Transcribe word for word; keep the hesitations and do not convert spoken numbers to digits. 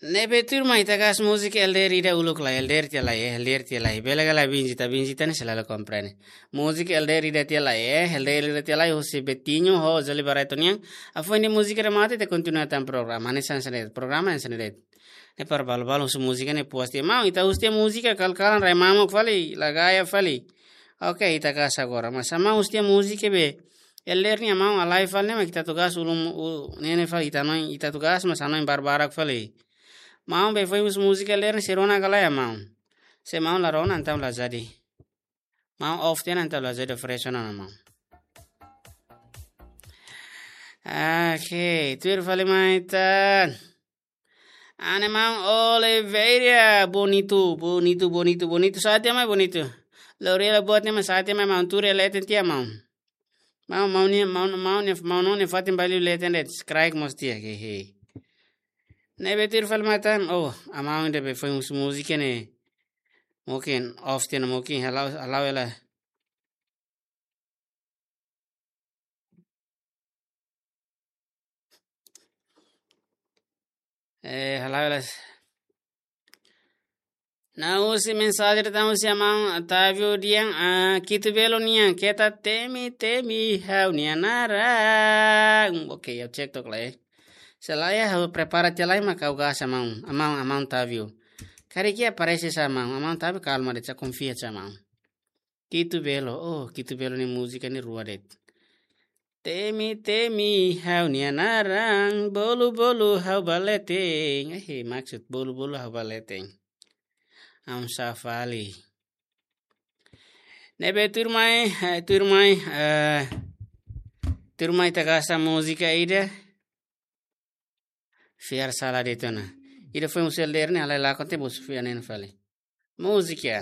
Ne'ebé tuirmai ita kaer múzika L D R ida uluk lai, L D R tiha lai, eh, L D R tiha lai. Bele ka lae, Benjita, Benjita ne'e selalu komprende. Múzika L D R ida tiha lai, eh, L D R ida tiha lai, husi Betinho ho Zoli Barreto nian. Hafoin de'it múzika remata, ita kontinua tan programa. Hanesan sendiri, programa hanesan sendiri. Ne'e para balu-balu husu múzika ne'e puas tiha. Maun, ita husu tiha múzika, kal-kalan rai mamuk fali, la gaya fali. Oke, ita kaer agora. Mas maun husu tiha múzika be L D R nian maun halai fali ne'e, mak ita atu kaer uluk, u-, ne'e ne'e fali ita hanoin, ita atu kaer mas hanoin barbarak fali. Maun be foin husu múzika L D R ne'e sei rona ka lae maun. Se maun la rona entaun la jadi. Maun off tiha ona entaun la jadi oferese ona maun. Oke, tuir fali mai tan. Ana maun Oliveira, bonito, bonito, bonito, bonito. Sa'e tiha mai bonito. Lorela buat ne'e mai sa'e tiha mai maun, tuur iha leten tiha maun. Maun, maun ne'e, maun, maun ne'e, maun ne'e fatin balu leten de'it, kraik mós tiha, hehe. Ne'ebé tuir fali mai tan, oh, maun ida be foin husu múzika ne'e. Mungkin off tiha ona, mungkin hala'o, hala'o hela. Eh, hala'o hela. Na'in-rua mensajen datang husi maun Otávio nian, ah, Kitu Belo nian, keta temi, temi ha'u-nia naran. Oke, ha'u cek took lai. Se lae ha'u prepara tiha lai mak ha'u kaer maun, maun, maun Otávio. Karik iha aparese sa maun, maun Otávio kalma de'it, sa konfia sa maun. Kitu Belo, oh, Kitu Belo nia múzika ne'e rua de'it. Temi, temi ha'u-nia naran, bolu, bolu ha'u ba leten. Eh, maksud bolu, bolu ha'u ba leten. Aun sa fali. Ne'ebé tuirmai, eh, tuirmai, eh, tuirmai ita kaer múzika ida. Fiar sala de'it ona. Ida foin husi L D R ne'e, halai lakon tiha, bos fiar ne'e fali. Múzika.